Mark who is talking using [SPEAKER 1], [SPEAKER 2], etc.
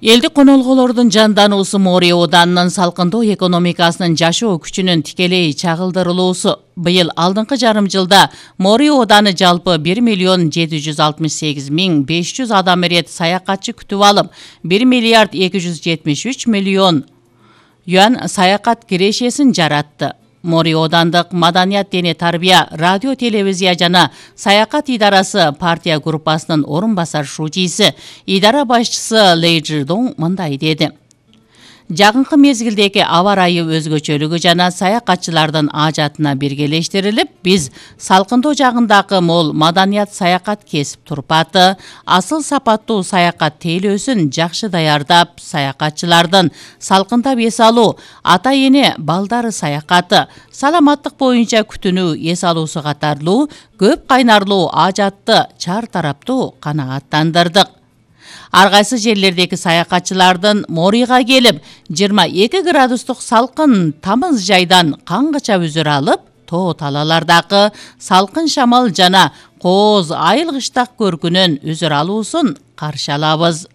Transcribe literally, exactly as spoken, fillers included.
[SPEAKER 1] Элдик конолголордун жандануусу Мори Оданынын салкындоо экономикасынын жашоо күчүнүн тикелей чагылдырылуусу. Быйыл алдыңкы жарым жылда Мори Оданы жалпы бир миллион жети жүз алтымыш сегиз миң беш жүз адам ирет саякатчы күтүп алып, бир миллиард эки жүз жетимиш үч миллион юан саякат кирешесин жаратты. Мори Одандык маданият дене тарбия, радио, телевизия жана саякат идарасы партия группасынын орун басар шужиси, идара башчысы Лей Чжидong мындай деди. Жакынкы мезгилдеги аба ырайы өзгөчөлүгү жана саякатчылардын ажатына биргелештирилип, биз салкындоо жагындагы мол маданият саякат кесип турпаты, асыл сапаттуу саякат тейлөөсүн жакшы даярдап, саякатчылардын салкындап эс алуу, ата эне балдары саякаты, саламаттык боюнча күтүнүү эс алуусу катарлуу көп кайнарлуу ажатты чар тараптуу канааттандырдык. Ар кайсы жерлердеги саякатчылардын Морига келип, жыйырма эки градустук салкын тамыз жайдан каңгыча үзүр алып, тоо талалардагы салкын шамал жана кооз айыл кыштак көркүнөн үзүр алуусун каршы алабыз.